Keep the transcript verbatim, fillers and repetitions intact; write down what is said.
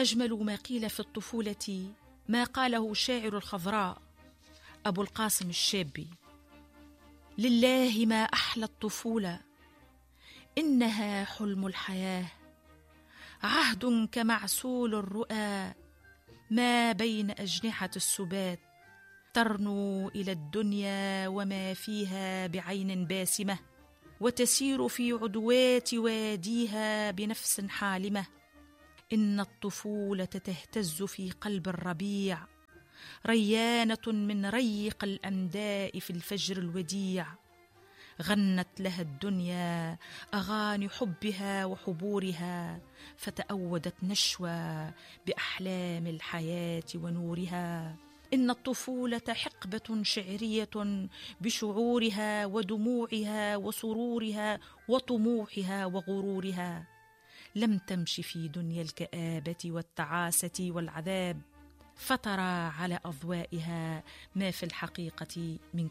أجمل ما قيل في الطفولة ما قاله شاعر الخضراء أبو القاسم الشابي: لله ما أحلى الطفولة، إنها حلم الحياة، عهد كمعسول الرؤى ما بين أجنحة السبات، ترنو إلى الدنيا وما فيها بعين باسمة، وتسير في عدوات واديها بنفس حالمة. إن الطفولة تهتز في قلب الربيع، ريانة من ريق الأنداء في الفجر الوديع، غنت لها الدنيا أغاني حبها وحبورها، فتأودت نشوى بأحلام الحياة ونورها. إن الطفولة حقبة شعرية بشعورها ودموعها وسرورها وطموحها وغرورها، لم تمش في دنيا الكآبة والتعاسة والعذاب، فترى على أضوائها ما في الحقيقة من